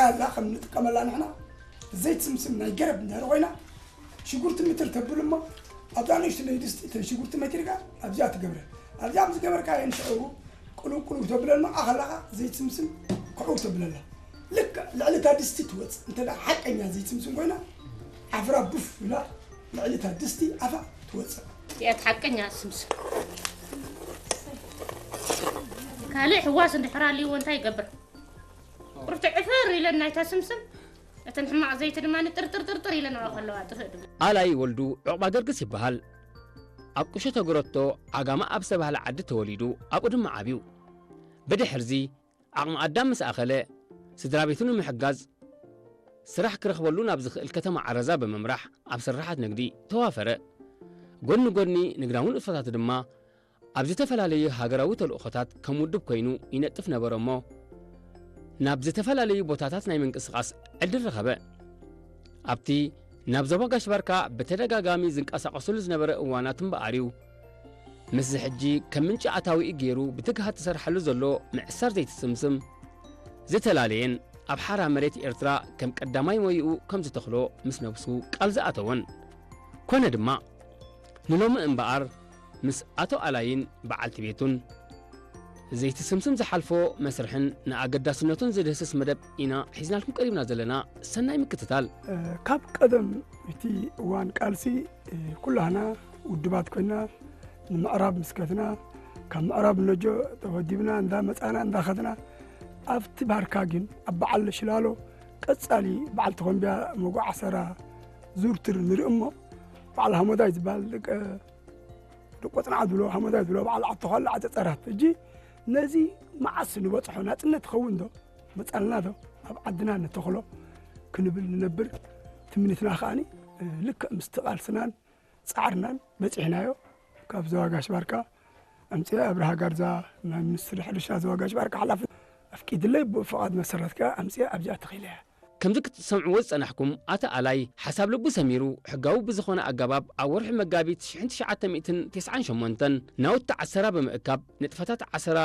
ያላ ከም ንጥቀመላ ንሕና ዘይት ስምስም ናይ ገረብ እንድሕር ኮይና ሽጉርቲ ምትር ተብል እሞ ኣብዛ ንእሽትለይ ድስቲ እተን ሽጉርቲ መቲርካ ኣብዚኣ ትገብረ ኣብዚኣ ምስ ገበርካ የንሽዑ ቅሉብ ቅሉብ ተብለል መዓ ከለኻ ዘይት ስምስም ክዕው ተብለላ ልክዕ ልዕሊ እታ ድስቲ ትወፅእ እንተ ደኣ ሓቀኛ ዘይት ስምስም ኮይና ዓፍራ ቡፍ ኢላ ልዕሊ እታ ድስቲ ኣፋ ትወፅእ። እዚኣት ሓቀኛ ስምስም ካልእ ሕዋስ እንድሕር ኣልይዎ እንታይ ይገብር? ቁርቲ ዕፍር ኢለን ናይታ ስምስም እተን ሕማቕ ዘይቲ ድማ ጥርጥር ጥርጥር ኢለን ኣብኣ ከለዋ ጥፍእ ድብል። ኣላይ ወልዱ ዑቕባ ገርግስ ይበሃል። ኣብ ቁሸ ተግረቶ ዓጋመ ኣብ ዝተባህለ ዓዲ ተወሊዱ ኣብኡ ድማ ዓብዩ። ብድሕርዚ ዓቕሚ ኣዳም ምስ ኣኸለ ስድራ ቤቱ ንምሕጋዝ ስራሕ ክረኽበሉ ናብ ዝኽእል ከተማ ዓረዛ ብምምራሕ ኣብ ስርሓት ንግዲ ተዋፈረ። ጎኒ ጎኒ ንግዳዊ ንጥፈታቱ ድማ ኣብ ዝተፈላለዩ ሃገራዊ ተልእኾታት ከም ውድብ ኮይኑ ይነጥፍ ነበረ እሞ ናብ ዝተፈላለዩ ቦታታት ናይ ምንቅስቓስ ዕድል ረኸበ። ኣብቲ ናብ ዞባ ጋሽ ባርካ ብተደጋጋሚ ዝንቀሳቐሰሉ ዝነበረ እዋናት እምበኣር እዩ ምስዚ ሕጂ ከም ምንጪ ኣታዊኡ ገይሩ ብትግሃት ዝሰርሓሉ ዘሎ ምዕሳር ዘይቲ ስምስም ዝተላለየን ኣብ ሓራ መሬት ኤርትራ ከም ቀዳማይ ሞይኡ ከም ዝተኽሎ ምስ ነብሱ ቃል ዝኣተወን። ኮነ ድማ ንሎሚ እምበኣር ምስ ኣቶ ኣላይን በዓልቲ ቤቱን ዘይቲ ስምስም ዝሓልፎ መስርሕን ንኣገዳስነቱን ዝድህስስ መደብ ኢና ሒዝናልኩም ቀሪብና ዘለና። ሰናይ ምክትታል። ካብ ቀደም እቲ እዋን ቃልሲ ኩላህና ውድባት ኮይና ንምዕራብ ምስከትና ካብ ምዕራብ ነጆ ተወዲብና እንዳመፃና እንዳኸድና ኣብቲ ባርካ ግን ኣብ በዓል ሽላሎ ቀፃሊ በዓል ተኾምቢያ መጉዓሰራ ዙርትር ንርኢ እሞ በዓል ሃሞዳይ ዝበሃል ደቂ ደቆፅንዓ ዝብሎ ሃሞዳይ ዝብሎ በዓል ዓተዃላ ዓፀፀራት እጂ ነዚ መዓስ ንበፅሖ ናፅነት ትኸውን ዶ መፃልና ዶ ኣብ ዓድና ንተኽሎ ክንብል ንነብር ትምኒትና ከዓኒ ልክዕ ምስቲ ቃልስናን ፃዕርናን በፂሕናዮ ካብ ዘዋጋሽ ባርካ ኣምፅአ ኣብርሃ ጋርዛ ናይ ሚኒስትሪ ሕርሻ ዘዋጋሽ ባርካ ሓላፊ ኣፍቂድለይ ብኡ ፍቓድ መሰረት ከ ኣምፅአ ኣብዚኣ ተኺለያ ከምዚ ክትሰምዕዎ ዝጸናሕኩም ኣቲ ኣላይ ሓሳብ ልቡ ሰሚሩ ሕጋዊ ብዝኾነ ኣገባብ ኣብ ወርሒ መጋቢት ሽሕን ትሽዓተ ሚእትን ተስዓን ሸሞንተን ናውቲ ዓሰራ ብምእካብ ንጥፈታት ዓሰራ